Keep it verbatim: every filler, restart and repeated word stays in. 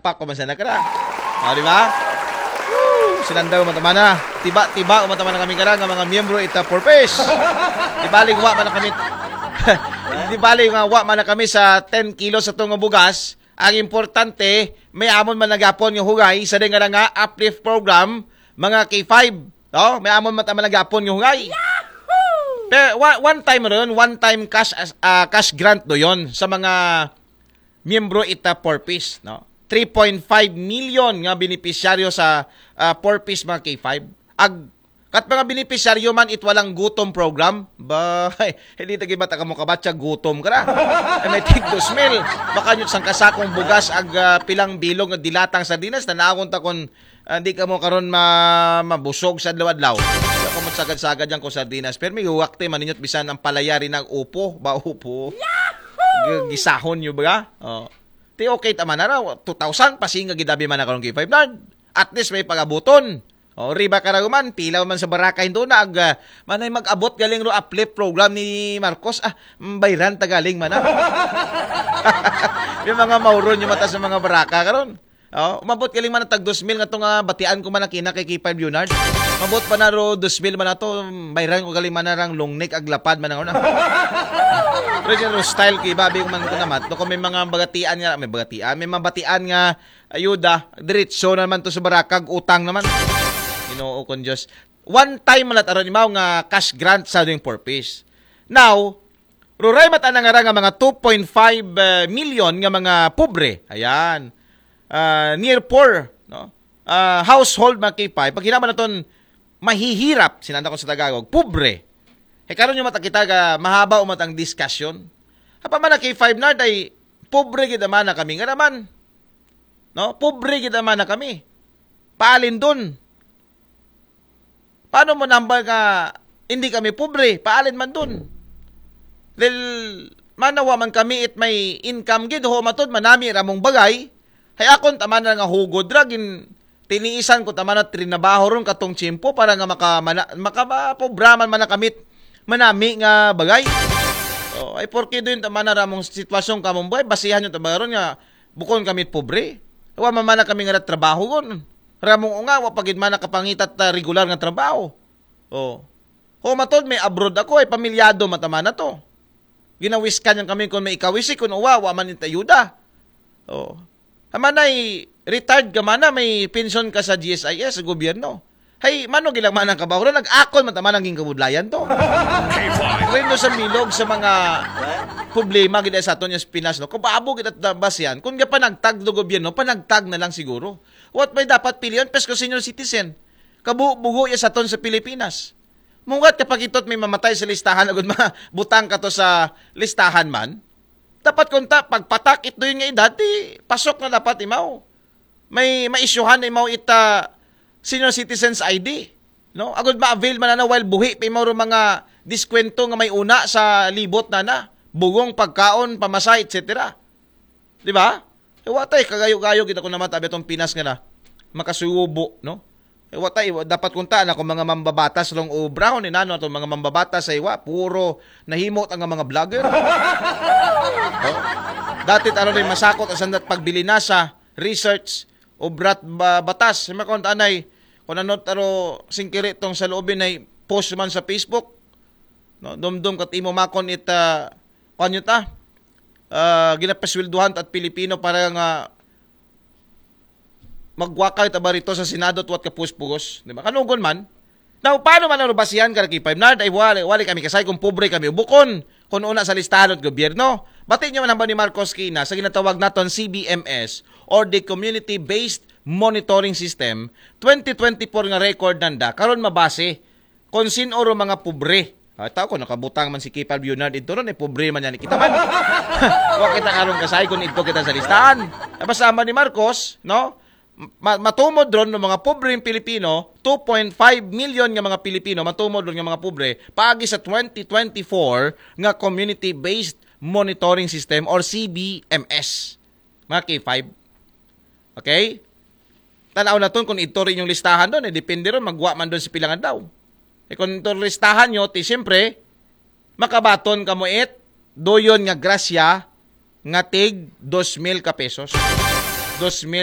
Pak ko man sana kara. O, di ba? Woo! Sinandaw man tamana. Tiba-tiba man tamana kami kara nga mga miyembro ita Four Ps. Di baling wa man na kami. Di baling nga wa man na kami sa ten kilos sa tungo bugas. Ang importante, may amon man na gihapon nga hugay sa ding nga uplift program, mga K five. No? May amon man tamana gihapon nga hugay. Pero wa- one time ron, one time cash as- ah, cash grant do yon sa mga miyembro ita Four Ps, no? Three point five million nga benepisyaryo sa ah, Four Ps, mga K five. Ag kat mga benepisyaryo man it walang gutom program, ba, hindi tagi bata kamo kabatsa gutom kara. Ay, may tig dos mil. Baka nyo sang kasakong bugas ag ah, pilang bilog nga dilatang sardinas, tanawon ta kung ah, di kamo karon ma mabusog sa adlaw-adlaw. Di ako magsagad-sagad yan ko sardinas. Pero may huwak te, maninyo't bisan ang palayari ng upo, ba upo. G- gisahon nyo ba? Oh. Ti okay tama na raw, two thousand, pasinga gidabi man na karong K five Nard. At least may pagabuton. O, riba ka raw man, pilaw man sa baraka, hindi na, ag, ah, manay mag-abot galing ro uplift program ni Marcos. Ah, mm, bayran ta galing man, ah. Yung mga mauron yung mata sa mga baraka karon. Oh, umabot galing man ang tag dos mil nga to nga batian ko man ang kina kay K five Leonard. Mabot pa na ro dos mil man na to, bayran ko galing man na rang lungnik ag lapad man na. Pero yung style ko, ibabi ko man ko naman. To kung may mga bagatian nga, may bagatian, may mabatian nga ayuda, diretso na naman to sa barakag, utang naman. Ginoo kong Diyos. One time malat aron imaw nga cash grant sa ding Four Ps. Now, ruray mata na nga ra nga mga two point five million nga mga pobre. Ayan. Ah, near poor, no? Ah, household, mga K five. Pag hinama naton mahihirap, sinanda ko sa Tagalog, pobre. E karon yung mata kita ga mahaba o matang discussion. Apa man na K five Nard ay pobre gid man na kami nga naman. No? Pobre gid man na kami. Paalin dun. Paano mo nambal nga hindi kami pobre? Paalin man dun. Dahil manawa man kami it may income gid, ho matod, manami ramong bagay. Hay akon tama na nga hugod ra, gin tiniisan ko tama na trinabaho ron katong tiyempo para nga maka, mana, makapobraman man na kamit manami nga bagay. Oh, ay porke doon tama na ramong sitwasyon kamong buhay, basihan yung tama ron nga bukon kami pobre. Wa man man na kami nga trabaho gon. Ramong unga, wa pagid man nakapangitat ta regular nga trabaho. Oh. Ho matod may abroad ako, ay pamilyado mataman na to. Ginawiskan yang kami kung may ikawisi, kung uwa, wa man it ayuda. Oh. Hamanay, retired ka man na, may pension ka sa G S I S, sa gobyerno. Hay, mano gilang man ang kabahuran, nag-akon man taman ang ginkabudlayan to. Rendo sa milog sa mga problema gid sa aton yung Pinas, no? Kababo gid at dabas yan. Kung gapanagtag do gobyerno, panagtag na lang siguro. What may dapat pilihan? Pes ko senior citizen. Kabubugo ya sa aton sa Pilipinas. Mungat kapag itot may mamatay sa listahan, agud ma butang ka to sa listahan man. Dapat kung ta, pagpatak it doon nga edad, di pasok na dapat imaw. May maisyuhan na imaw ita senior citizens I D. No? Agud ma-avail man na while buhi pa imaw ro mga diskwento nga may una sa libot na na. Bugong, pagkaon, pamasahe, et cetera. Di ba? E, wa tay, kagayo-gayo kita ko naman tabi itong Pinas nga na. Makasubo, no? E, wa tay, wa- dapat kuntaan ako mga mambabatas long obrahon, inano itong mga mambabatas ay wa, puro nahimot ang mga vlogger. Oh. Dati taro rin masakot, asan dat pagbili na sa research, obrat ba, batas. May kung anay, kung ano taro singkiri tong sa loobin ay post man sa Facebook. No, dumdum kat imo makon it, ah, kuwan yun ta? Ah, ginapasweldohan ta at Pilipino para nga magwakay ta ba rito sa Senado at wat kapuspugos, di ba? Kanugon man. Now, paano man ang basihan ka, Ricky Five Nard? Ay, wali, wali kami kasay kung pobre kami. Bukon, kung una sa listahan at gobyerno. Bati nyo man hamba ni Marcos Kina sa ginatawag naton C B M S or the Community-Based Monitoring System, twenty twenty-four nga record nanda, karon mabase kung sin-o ro mga pobre. Ah, tao ko, nakabutang man si Kipal Bernard ito ron, eh, pobre man yan kita man. Wa kita karong kasay kung ito kita sa listahan. Eh, basta man ni Marcos, no? Ma- matumod ron ng mga pobreng Pilipino, two point five million nga mga Pilipino, matumod ron nga mga pobre, paagi sa twenty twenty-four nga Community-Based Monitoring System or C B M S. Mga K five. Okay? Tanaw na ton kung ito rin yung listahan doon, eh, depende ron, magwa man doon sa pilangan daw. Eh, kung ito listahan nyo, ti siyempre, makabaton ka mo it, doyon nga grasya, nga tig dos mil ka pesos. Dos mil